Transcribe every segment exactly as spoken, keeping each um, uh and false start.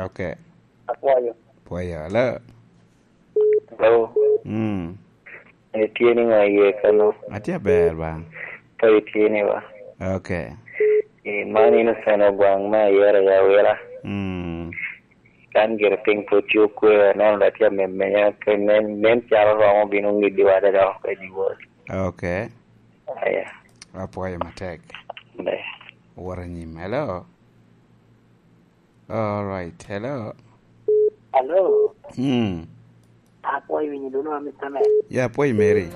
Ok. Apwoyo. Pwoyo. Hello. Hello. Mm. Itye ni ŋo iye kano? Atye aber ba. Ka itye ni ba. Ok. Eh, man Innocent Ogwaŋ me Ayera i Awila. Mm. Kan gire piny pwod tye okwe, aneno da tye amemenya, pe nen, nen calo romo bino ŋiddiwa da dok oko i dyewor. Ok. Aya. Apwoyo matek. Ber. Wot anyim. Hello. All right. Hello. Hello. Hmm. Apwoyo winyo dulu wa, Mister Man. Yeah, apwoyo Mary.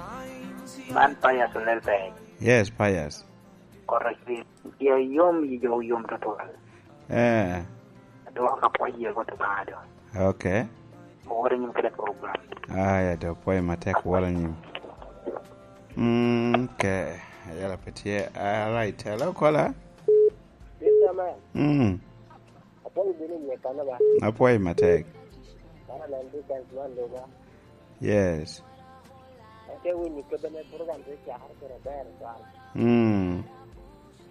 Man Pius Olel Peny. Yes, Pius. Koro ci-, ci yom yi jo yom tutwal. Eh. Adwoko ka pwoyo ye got Obaŋa do. Okay. Owor anyim kede program. Aya, to pwoyo matek, wot anyim. Mm, okay. Ayela pe tye. All right. Hello, caller. Mister Man. Mm. Apwoyo bino i nge kano ba? Apwoyo matek. Mano nen dikens man luba. Yes. Ate winyo kede me program te cakere kede ber twal. Mm.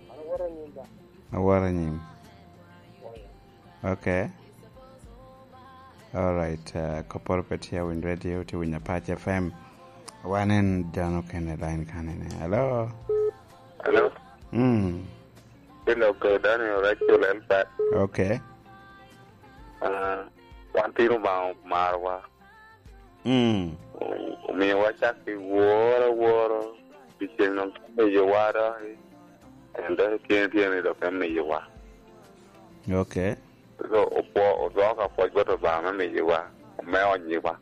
Mano woro nyim ba? Aworo anyim. Oya. Okay. All right. Uh, kopporo pe tye awinyo radio, tye winyo Apac F M. Wan en dano kene line kanene. Hello? Hello? Mm. Ilo ko Daniel Rachel Elbert. Okay. Ah, wan tino Obaŋa omarowa. Mm. O-, omiowa cak i woro aworo, pi ceŋ dok miyowa dok i, en dok i tyene tyene dok emiyowa. Okay. So, opwo-, odwoko apwoc bot Obaŋa me miyowa, me onyiwa.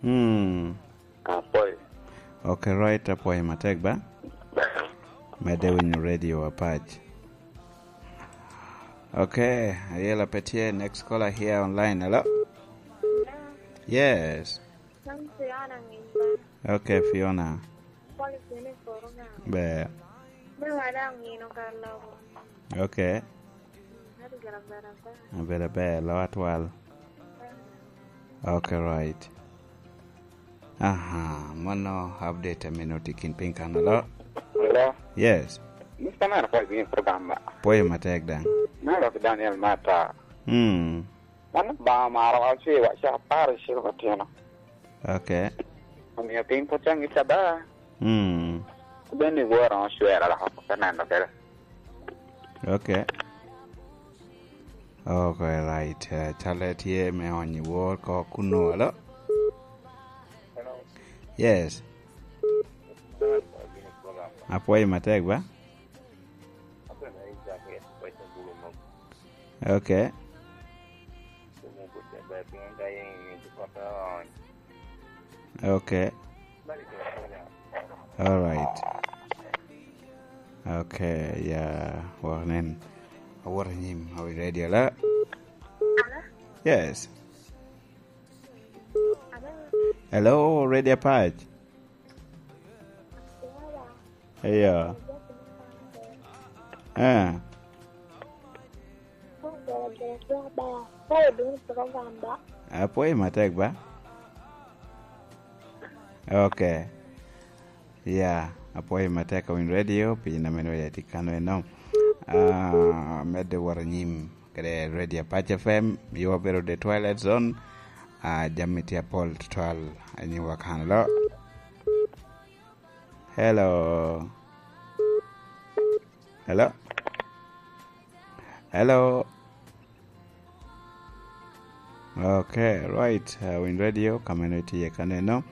Mm. Apwoyo. Okay, right, apwoyo matek ba. Ber. Medde winyo radio Apac. Okay, ayela pe tye, next caller here online. Hello? Yes. Kan Fiona ng'eny ba. Okay, Fiona. Kwalo kene i koro ga. Ber. Me wada ong'ino kar loko. Okay. Ati gin aber ata. Aber aber, lo atwal. Okay, right. Aha, mano update amino tye kin piny kan alo. Hello? Yes. Mister Man, apwoyo bino i program ba. Pwoyo matek daŋ. Me lok Daniel Mata. Hmm. Wan Obaŋa omaro wa, ocewa ca apar i ciro matino. Okay. Omio piny pwod tye aŋic ada. Mm. Bed ni wora ocwera lok oko te neno kede. Okay. Okay, right. Eh, calle tye me onyo wor ko kuno, alo? Yes. Apwoyo matek ba? Okay. Okay. All right. Okay, yeah, wok nen. Awot anyim, are you ready, ala? Yes. Hello, Radio Apac. Eyo. Eh. Apwoyo matek ba? Okay. Ya, apwoyo matek awiny radio, pien ameno ya tye kano eno. Ah, medde wot anyim kede Radio Apac F M, yo bedo the twilight zone. Ah, jami tye apol tutwal, anyiwa kan lo. Hello. Hello. Hello. Okay, right. Uh, Win Radio, kameno iti ye kaneno.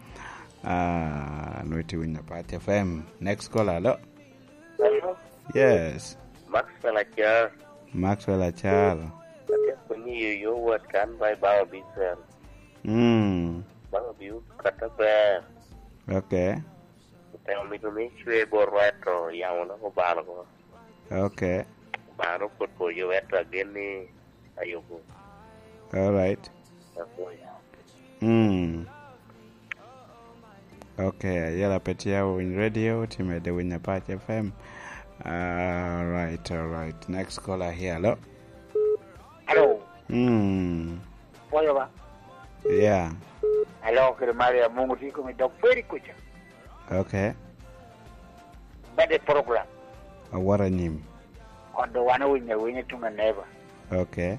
Uh, no iti Win Apac F M. Next caller, hello. Hello. Yes. Maxwell Achar. Maxwell Achar. Atye koni yo yo wat kan by Baba Bisel. Mm. Baba Biu kata ber. Okay. Otemo mito ni cwe bot rweto, yamo dok obalo ko. Okay. Obalo pwod poyo, ento agen ni ayubo. All right. Apwoyo. Mm. Okay, ayela pe tye awiny radio, tye medde winy Apac F M. All right, all right. Next caller here, hello. Hello. Mm. Pwoyo ba? Yeah. Alo, kede Maria, Mungu tye kome dok pwod i kuca. Okay. Bade program. Awot anyim. Kodo wan owinyo awinya tuŋ aneba. Okay.